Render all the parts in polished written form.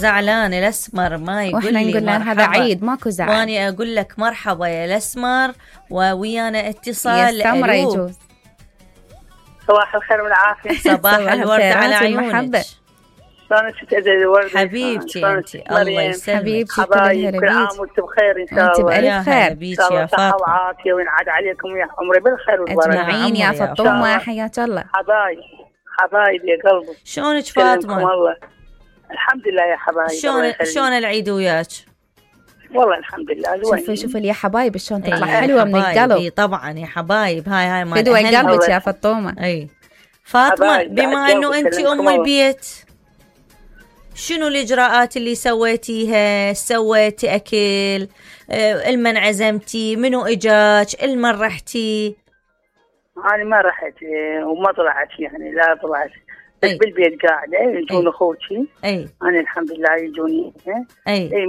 زعلان الأسمر ما يقول واحنا لي نقول له هذا عيد ماكو زعل. واني اقول لك مرحبا يا الأسمر وويانا اتصال. يا السمرة يجوز. صباح الخير والعافية. صباح الورد على عيونك. شلونك ست الورد حبيبتي انت الله يسلمك حبيبتي كل عام وانتم بخير ان شاء الله. بألف خير ان شاء الله صحة وعافية وينعاد عليكم يا عمري بالخير والبركة اجمعين يا فطومة حياك الله. حبايب يا قلبي. شلونك فاطمة؟ والله الحمد لله يا حبايب. شلون العيد وياك؟ والله الحمد لله. شوفي يا حبايب شلون تطلع حلوة من القلب. طبعا يا حبايب هاي ما فدوى قلبك يا فطومة. اي فاطمة بما انه انت ام البيت شنو الإجراءات اللي سويتيها؟ سويتي أكل؟ المن عزمتي؟ منو إجاك؟ المن رحتي؟ أنا ما رحت وما طلعت يعني لا طلعت بس بالبيت قاعدة يجون أخوتي. أنا الحمد لله يجوني.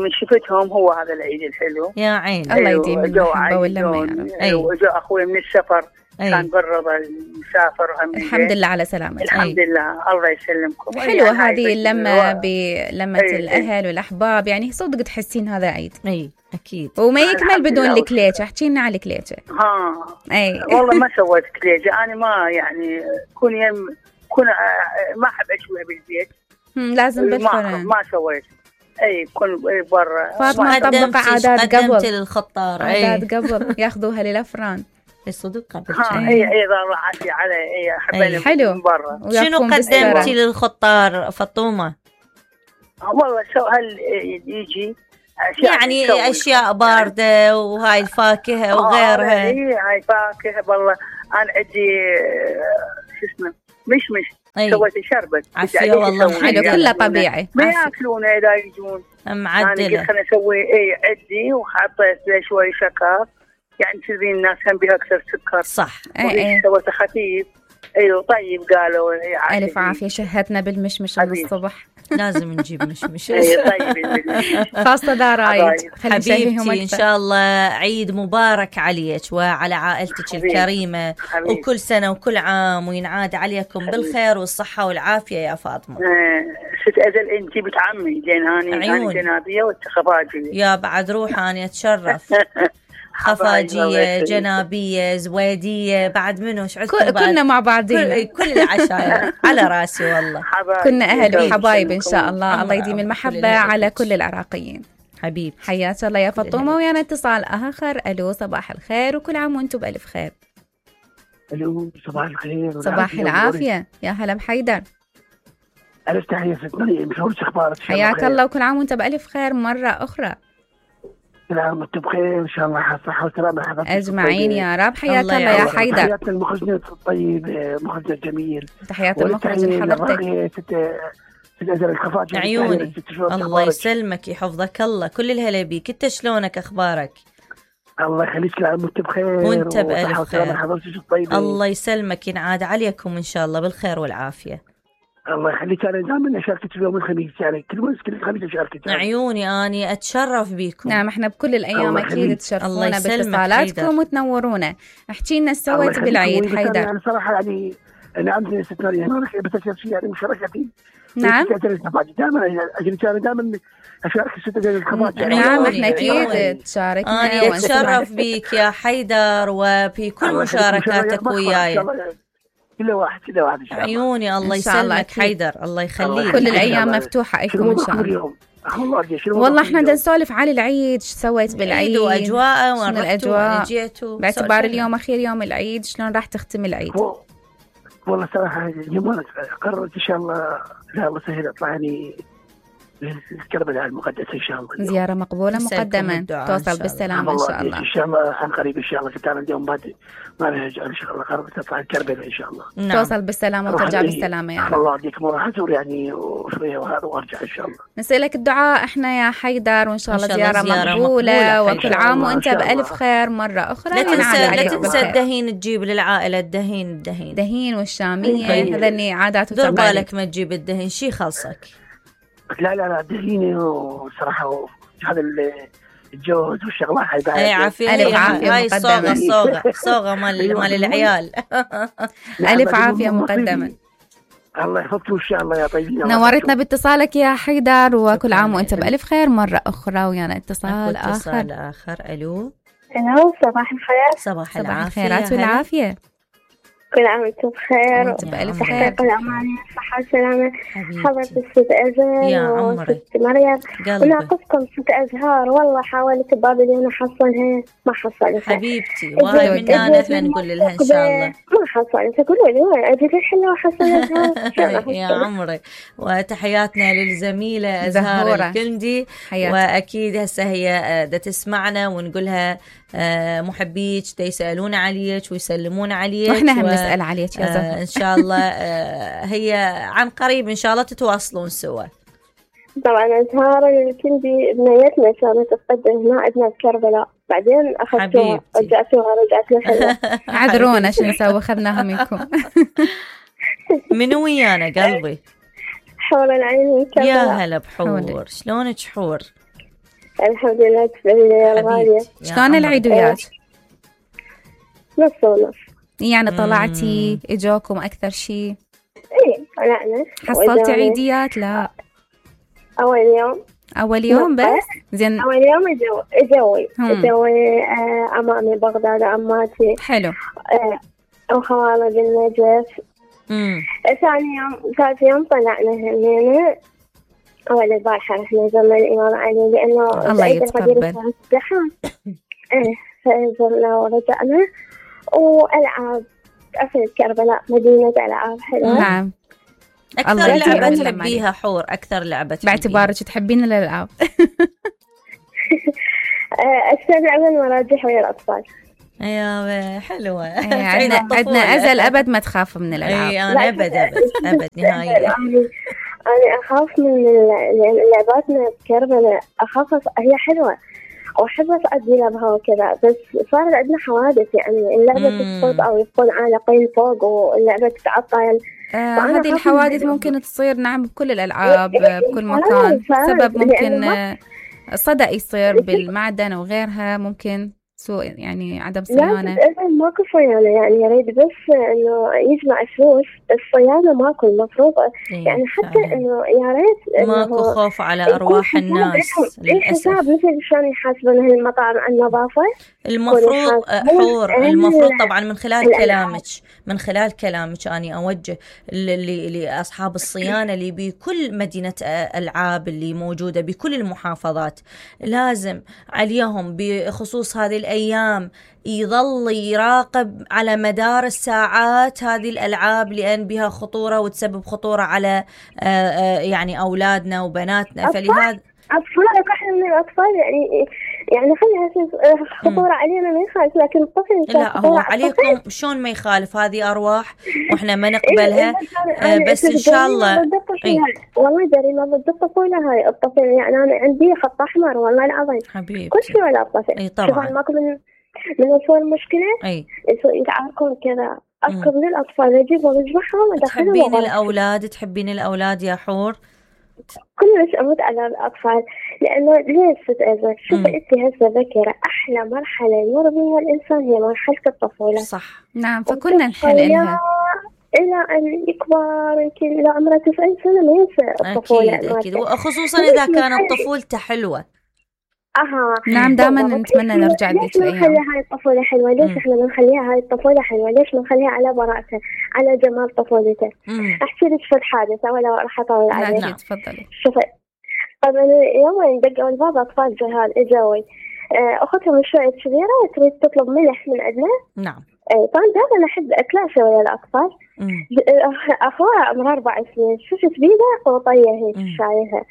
من شفتهم هو هذا العيد الحلو يا عين. الله يديم المحبة واللمة يا رب. وجاء أخوي من السفر كان برا المسافر. الحمد لله على سلامتك. الحمد لله الله يسلمكم. حلوة هذه اللمة بلمة الأهل والأحباب يعني صدق تحسين هذا عيد. أكيد. وما يكمل بدون الكليجة. احكي لنا على الكليجة. والله ما سويت كليجة. أنا ما يعني كون ما أحب أشويها بالبيت. لازم بالفرن. ما سويت. كل برا. فاطمة طبق عادات قبل. قدمت للخطار. عادات قبل ياخذوها للأفران. الصدق قبل. الله عافية على حبايبي حلو. برا. شنو قدمتي للخطار فطومة؟ والله هل يجي يعني أشياء باردة وهاي الفاكهة وغيرها. هاي فاكهة والله. أنا عندي شو اسمه مشمش. سويت شربت. عافية والله حلو كله طبيعي. ما ياكلونه إذا يجون. معدلة. أنا قلت خليني أسوي عندي وحطيت له شوي شكر يعني تدرين الناس هم بها أكثر سكر. صح. سويت خفيف. طيب قالوا ألف عافية. شهتنا بالمشمش الصبح. لازم نجيب مشمش. طيب خاصة ذا رايد. حبيبتي إن شاء الله عيد مبارك عليك وعلى عائلتك الكريمة. وكل سنة وكل عام وينعاد عليكم بالخير والصحة والعافية يا فاطمة. ست أزل أنت بنت عمي أنا جنابية والخفاجية. يا بعد روح أنا أتشرف. خفاجية جنابية زويدية بعد منه كلنا مع بعضين. كل العشاير على راسي والله. كنا أهل وحبايب إن شاء الله. الله يديم المحبة على كل العراقيين. حبيب حياك الله يا فطومة. ويانا اتصال آخر. ألو صباح الخير وكل عام وانتم بألف خير. ألو صباح الخير. صباح العافية يا هلا بحيدر. ألف تحية ست مريم. شلونك أخبارك؟ حياك الله وكل عام وانت بألف خير مرة أخرى. كل عام وانتم بخير ان شاء الله. صحة وسلامة حضرتك اجمعين يا رب. حياك الله يا حيدر. تحيات المخرج الطيب مخرج الجميل. تحيات المخرج لحضرتك. عيوني الله يسلمك يحفظك الله. كل الهلا بيك. انت شلونك اخبارك؟ الله يخليك. كل عام وانت بخير وانت بألف خير. حضرتك الطيبة. الله يسلمك ينعاد عليكم ان شاء الله بالخير والعافية. الله يخليك. أنا دائما أشاركك يوم الخميس يعني كل خميس أشاركك. عيوني أني أتشرف بيكم. نعم إحنا بكل الأيام أكيد تشرفونا باتصالاتكم وتنورونا. احكي لنا سويت بالعيد حيدر. يعني صراحة يعني أنا عندي ست مريم بس شيء يعني مشاركتي. نعم. دائما أجل دائما أشارك الست الخبات. نعم إحنا أكيد تشاركنا. أنا أتشرف بيك يا حيدر وفي كل مشاركاتك وياي. كل واحد عيوني الله يسلمك حيدر. الله يخليك. كل الأيام مفتوحة لكم إن شاء الله. والله احنا بدنا نسولف على العيد. شو سويت بالعيد واجواءه وين الاجواء باعتبار اليوم اخير يوم العيد. شلون راح تختم العيد؟ والله صراحه اليوم قررت ان شاء الله لا الله سهل اطلع يعني كربلاء المقدسة إن شاء الله. زيارة مقبولة مقدما. توصل بالسلامة إن شاء الله. إن شاء الله عن قريب إن شاء الله. كنت أنا اليوم بعد ما رجع إن شاء الله قربت أطلع كربلاء إن شاء الله. نعم. توصل بالسلامة وترجع بالسلامة يا رب. الله يديكم وراح أزور يعني وشوية وهذا وأرجع إن شاء الله. نسألك الدعاء إحنا يا حيدر وإن شاء الله زيارة مقبولة وكل عام وأنت بألف خير مرة أخرى. لا تنسى الدهين تجيب للعائلة الدهين دهين والشامية هذني عادات دور بالك ما تجيب الدهين شي خلصك. لا الدهين وصراحة هذا الجوز والشغلات هاي بعد. اي عافية. هاي الصوغة مال العيال. ألف عافية مقدما. الله يحفظكم إن شاء الله يا طيبين. نورتنا باتصالك يا حيدر، وكل عام وأنت بألف خير مرة أخرى. ويانا اتصال آخر. ألو صباح الخير. صباح الخيرات والعافية. كل عام وانتم بخير وانت بألف خير. الأمان والصحة والسلامة. حضرة الست أزهار وست مريم، وناقصكم ست أزهار. والله حاولت بابليون أحصلها ما حصلتها حبيبتي، وهاي منا احنا نقول لها إن شاء الله ما حصلتها. قولوا لي وين أجيب الحلة وحصلتها يا عمري. وتحياتنا للزميلة أزهار الكندي، وأكيد هسه هي دا تسمعنا ونقولها محبيك يسألون عليك ويسلمون عليك، واحنا هم نسأل عليك يا زهر. إن شاء الله هي عن قريب إن شاء الله تتواصلون سوا. طبعا أزهار الكندي بنيتنا إن شاء الله تتقدم هنا عندنا بكربلاء، بعدين أخذتوها رجعت لها. عذرونا شو نسوي، أخذناها منكم. من ويانا قلبي؟ حور العين كربلاء. يا هلا بحور، شلونك حور؟ الحمد لله تبارك الغالية. شلون العيد وياك؟ نص ونص يعني. طلعتي اجوكم اكثر شيء؟ ايه طلعنا. حصلتي عيديات؟ لا اول يوم بس. زين اول يوم اجوي امامي بغداد عماتي. حلو. وخوالي بالنجف. ثاني يوم طلعنا هنا. أول البارحة رحنا زرنا الإمام علي لأنه الله يتقبل. فزرنا ورجعنا. وألعاب أصل كربلاء مدينة ألعاب حلوة. نعم. أكثر لعبة تحبيها حور؟ أكثر لعبة باعتبارك تحبين الألعاب. أكثر لعبة المراجح ويا الأطفال. يا حلوة. عندنا أزل أبد ما تخاف من الألعاب. أنا أبد نهائيا. أنا أخاف من لعباتنا بكربلاء، أخاف. هي حلوة وأحب أدي لعبها وكذا، بس صار عندنا حوادث. يعني اللعبة تسقط أو يكون عالقين فوق واللعبة تتعطل. هذه الحوادث ممكن تصير نعم بكل الألعاب بكل مكان. سبب ممكن صدأ يصير بالمعدن وغيرها، ممكن سوء يعني عدم صيانة. لا ماكو صيانة، يعني يريد بس إنه يجمع فلوس. الصيانة ماكو المفروضة. يعني حتى إنه يا ريت ماكو خوف على أرواح الناس للأسف. مثل شلون يحاسبون هالمطاعم على النظافة. المفروض حور، المفروض طبعا من خلال كلامك أنا أوجه لأصحاب الصيانة اللي بكل مدينة ألعاب اللي موجودة بكل المحافظات، لازم عليهم بخصوص هذه الأيام يظل يراقب على مدار الساعات هذه الألعاب، لأن بها خطورة وتسبب خطورة على يعني أولادنا وبناتنا. فلهذا أطفالك إحنا من الأطفال يعني خليها خطورة علينا ما يخالف، لكن الطفل لا هو عليكم شلون ما يخالف. هذه أرواح وإحنا ما نقبلها. بس إن شاء الله والله جريمة ضد الطفولة هاي. الطفل يعني أنا عندي خط أحمر والله العظيم حبيبتي. كل شيء ولا الطفل. طبعا ماكو من أسوأ المشكلة يتعاركون كذا. أذكر للأطفال أجيبهم أجمعهم أدخلهم. تحبين الأولاد يا حور؟ كلش أموت على الأطفال، لأنه ليش تتأذى؟ شوفي أنت هسه ذكرة أحلى مرحلة يمر بها الإنسان هي مرحلة الطفولة. صح نعم. فكلنا نحن إلها إلى أن يكبر يمكن إلى عمره 90 سنة ما ينسى الطفولة. أكيد وخصوصا إذا كانت طفولته حلوة. نعم دائما نتمنى نرجع لذيك الأيام. ليش نخليها هاي الطفولة حلوة؟ ليش إحنا بنخليها هاي الطفولة حلوة؟ ليش بنخليها على براءته، على جمال طفولته؟ أحكي لك في الحادثة ولا راح أطول عليك. نعم تفضلي. شوفي قبل يومين دقوا الباب أطفال جهال إجاوي. أختهم شوية كبيرة تريد تطلب ملح من عندنا. نعم. طبعا دائما أنا أحب أكلاشة ويا الأطفال. أخوها عمرها 4 سنين، شفت بيدها قوطية هيك شايفها.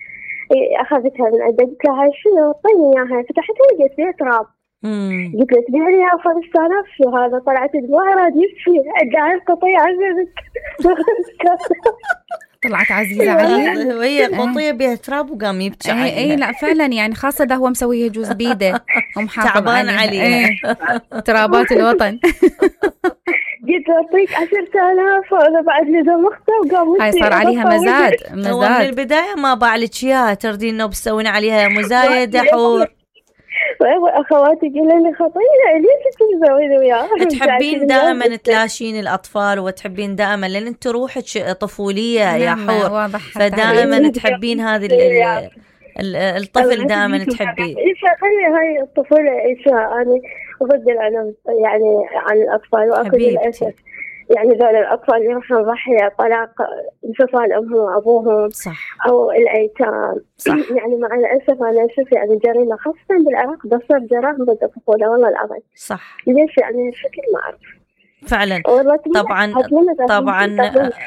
أخذتها من عندها قلت لها شنو طيني إياها، فتحتها لقيت فيها تراب. قلت له تبيها لي 5000 شو هذا؟ طلعت دموعي راد يبكي. قاعد قطية عزيزك. طلعت عزيزة عليه وهي قطية بها تراب وقام يبكي عليها. اي لا فعلا يعني خاصة ده هو مسويه جوز بيده ومحافظ تعبان عليها. ترابات الوطن. قلت أعطيك 10,000 وأنا بعد لزم أختها وقام. هاي صار عليها مزاد. هو من البداية ما باع لك إياها، تردين إنه بتسوين عليها مزايدة حور. واخواتي يقولون لي خطيره ليش تسوين وياها؟ تحبين دائما تلاشين الاطفال وتحبين دائما لان انت روحك طفوليه يا حور، فدائما تحبين هذه الطفل دائما تحبيه. خلي هاي الطفوله ايشها انا ضد العنف يعني عن الاطفال، واكو للاسف يعني ذول الأطفال اللي يروحون ضحية طلاق انفصال أمهم وأبوهم صح. أو الأيتام صح. يعني مع الأسف أنا أشوف يعني جريمة خاصة بالعراق بتصير جرائم ضد الطفولة والله العظيم. صح. ليش يعني شكل ما أعرف فعلا. طبعا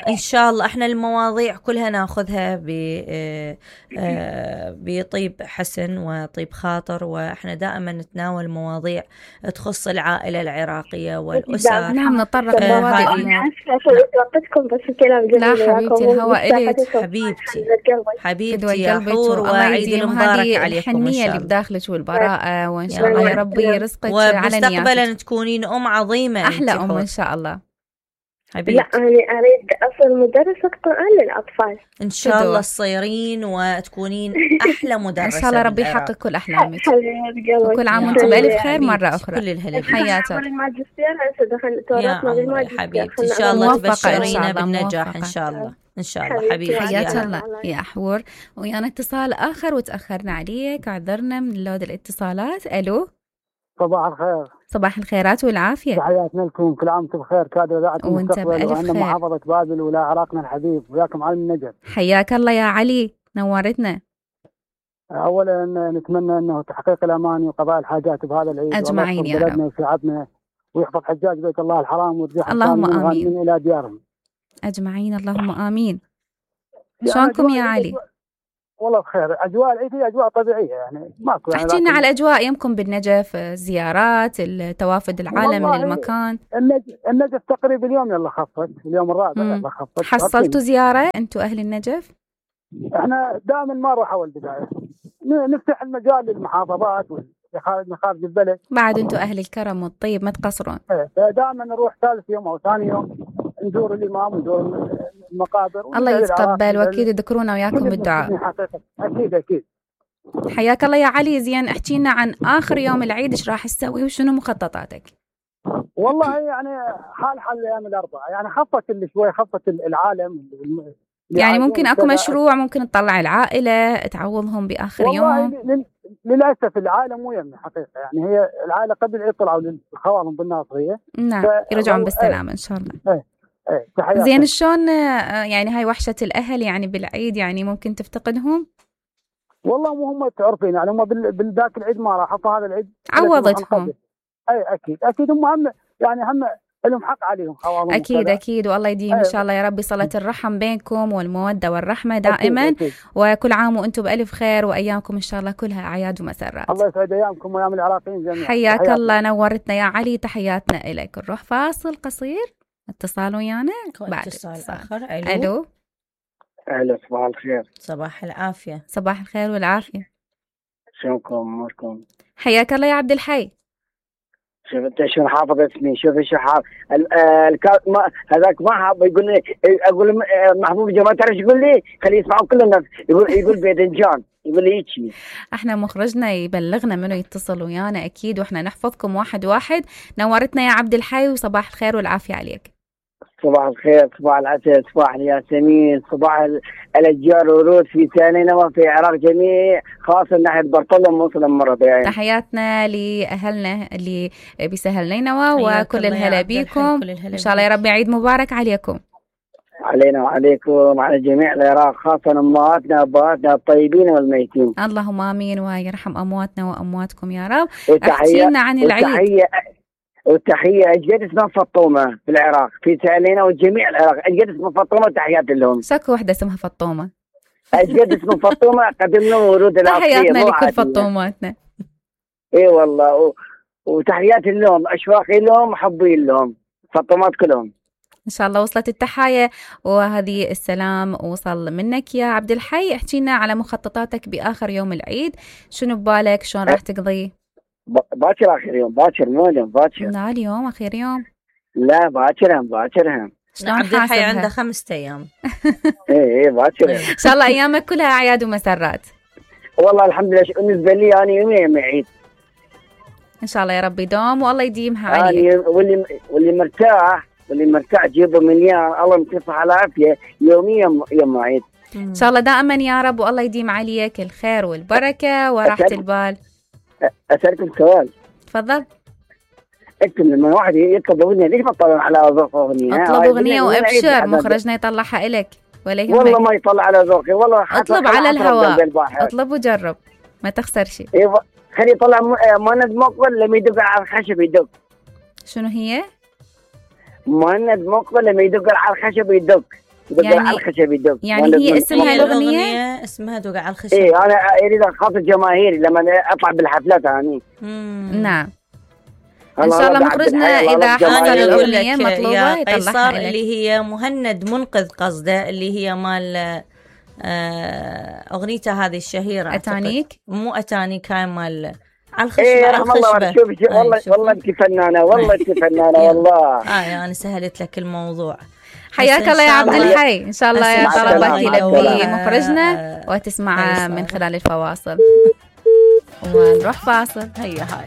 إن شاء الله احنا المواضيع كلها ناخذها بطيب حسن وطيب خاطر، واحنا دائما نتناول مواضيع تخص العائلة العراقية والأسر. نعم نتطرق لمواضيع. وقتكم بس الكلام جميل. لا حبيبتي الهواء إليك حبيبتي يا حور، وعيد المبارك عليكم إن الحنية اللي بداخلك والبراءة، وإن شاء الله يا ربي يرزقك على نياتك، ومستقبلا تكونين عظيمة أحلى إن شاء الله حبيبتي. لا أنا أريد أصل مدرسة قرآن للأطفال إن شاء الله تصيرين وتكونين أحلى مدرسة إن شاء الله ربي يحقق كل أحلامك، وكل عام وأنتم بألف خير مرة أخرى. كل الهلا حياتك. الماجستير هسه دخلت ورطنا بالماجستير حبيبتي، إن شاء الله تبشرينا بالنجاح إن شاء الله. إن شاء الله حبيبتي. حياك الله يا حور. ويانا اتصال آخر وتأخرنا عليك، عذرنا من لود الاتصالات. ألو صباح الخير. صباح الخيرات والعافية، تحياتنا لكم، كل عام وانتم بخير، كادوا ذاعتكم المستقبل وعندنا محافظة بابل ولا عراقنا الحبيب، وياكم علم النجف. حياك الله يا علي، نورتنا. أولا نتمنى أنه تحقيق الأمان وقضاء الحاجات بهذا العيد أجمعين يا رب، بلدنا وشعبنا، ويحفظ حجاج بيت الله الحرام ويرجعهم اللهم آمين إلى ديارهم أجمعين اللهم آمين. شلونكم يا علي؟ والله بخير. أجواء العيد هي أجواء طبيعية يعني ماكو يعني. احكي لنا على الأجواء يمكم بالنجف، الزيارات، التوافد العالم للمكان. النجف تقريبا اليوم يلا خفت، اليوم الرابع يلا خفت. حصلتوا زيارة أنتوا أهل النجف؟ احنا دائما ما نروح أول بداية، نفتح المجال للمحافظات مخارج البلد. بعد أنتوا أهل الكرم والطيب ما تقصرون. دائما نروح ثالث يوم أو ثاني يوم نزور الإمام ونزور المقابر. الله يتقبل وأكيد يذكرونا وياكم بالدعاء. أكيد. حياك الله يا علي. زين احكي لنا عن آخر يوم العيد، إيش راح تسوي وشنو مخططاتك؟ والله يعني حال الأيام الأربعة يعني خفت اللي شوي، خفت العالم يعني ممكن أكو مشروع ممكن تطلع العائلة تعوضهم بآخر يوم؟ والله للأسف العائلة مو يمني حقيقة، يعني هي العائلة قبل يطلعوا للخوالهم بالناصرية نعم يرجعون بالسلامة إن شاء الله. زين شلون يعني هاي وحشة الأهل يعني بالعيد يعني ممكن تفتقدهم؟ والله مو هم تعرفين يعني هم بالذاك العيد ما راحوا، فهذا العيد عوضتهم. أكيد هم يعني هم لهم حق عليهم خوالهم. أكيد والله يديم إن شاء الله يا ربي صلة الرحم بينكم والمودة والرحمة دائما. أكيد. وكل عام وأنتم بألف خير، وأيامكم إن شاء الله كلها أعياد ومسرات. الله يسعد أيامكم وأيام العراقيين جميعا. حياك الله، نورتنا يا علي، تحياتنا إليك. نروح فاصل قصير، اتصال ويانا بعد اتصال آخر. ألو. صباح الخير. صباح العافية. صباح الخير والعافية. شلونكم أموركم؟ حياك الله يا عبد الحي. شوف انت شو حافظ اسمي، شوف شو حافظ هذاك ما حافظ. يقول لي اقول محبوب جمال ترى يقول لي خليه يسمعوا كل الناس، يقول باذنجان، يقول لي هيك. احنا مخرجنا يبلغنا منه يتصل ويانا اكيد، واحنا نحفظكم واحد واحد. نورتنا يا عبد الحي، وصباح الخير والعافيه عليك. صباح الخير، صباح العسل، صباح الياسمين، صباح الأشجار ورود في سالينوى في العراق جميع، خاصة ناحية برطلم وموصل مرة يعني. تحياتنا لأهلنا اللي بسهل نينوى وكل الهلا بيكم. إن شاء الله يا رب عيد مبارك عليكم. علينا وعليكم على جميع العراق، خاصة أمهاتنا أبهاتنا الطيبين والميتين. اللهم آمين، ويرحم أمواتنا وأمواتكم يا رب. احكي لنا عن العيد. والتحية أجد اسمها فطومة في العراق، في سالينا وجميع العراق أجد اسمها فطومة، تحيات لهم. ساكو واحدة اسمها فطومة. أجد اسمه فطومة، قدم لهم ورود العصير. تحياتنا لكل فطوماتنا. إيه والله، وتحياتي لهم، أشواقي لهم، حبي لهم، فطومات كلهم. إن شاء الله وصلت التحايا وهذه السلام وصل منك يا عبد الحي. احكي لنا على مخططاتك بآخر يوم العيد، شنو ببالك، شلون راح تقضي؟ باكر آخر يوم، باكر مو اليوم، باكر. لا اليوم آخر يوم. لا باكرهم. شلون عبد الحي عنده 5 أيام. إيه باكر. إن شاء الله أيامك كلها أعياد ومسرات. والله الحمد لله. بالنسبة لي أنا يومي عيد. ان شاء الله يا رب يدوم والله يديمها عليك. واللي مرتاح جيبه مليان، الله يمسيه على عافيه يوميا يوم عيد ان شاء الله دائما يا رب، والله يديم عليك الخير والبركه وراحه البال. اسالكم سؤال. تفضل. انتم لما واحد يطلب اغنيه ليش ما تطلعون على ذوق اغنيه؟ اطلب اغنيه وابشر، مخرجنا يطلعها الك ولا يهمك. والله ما يطلع على ذوقي والله. اطلب على الهواء، اطلب وجرب ما تخسر شيء. ايوه خلي يطلع مهند مقبل لما يدق على الخشب يدق. شنو هي؟ مهند مقبل لما يدق على الخشب يدق. يعني على الخشب يدق. يعني هي اسمها الأغنية اسمها دق على الخشب. ايه انا اريد اخاطب جماهيري لما اطلع بالحفلات هاني. نعم ان شاء الله مخرجنا اذا حصل الاغنيه مطلوبه يطلعها لك. اللي هي مهند منقذ قصده، اللي هي مال اغنيته هذه الشهيره اتانيك. مو اتانيك، هاي مال على الخشبه. ايه والله شوفي والله انت فنانه، والله انت فنانه والله. انا سهلت لك الموضوع. حياك الله يا عبد الحي، ان شاء الله يا طلبك يلبي مخرجنا وتسمع من خلال الفواصل. ونروح فاصل. هيا هاي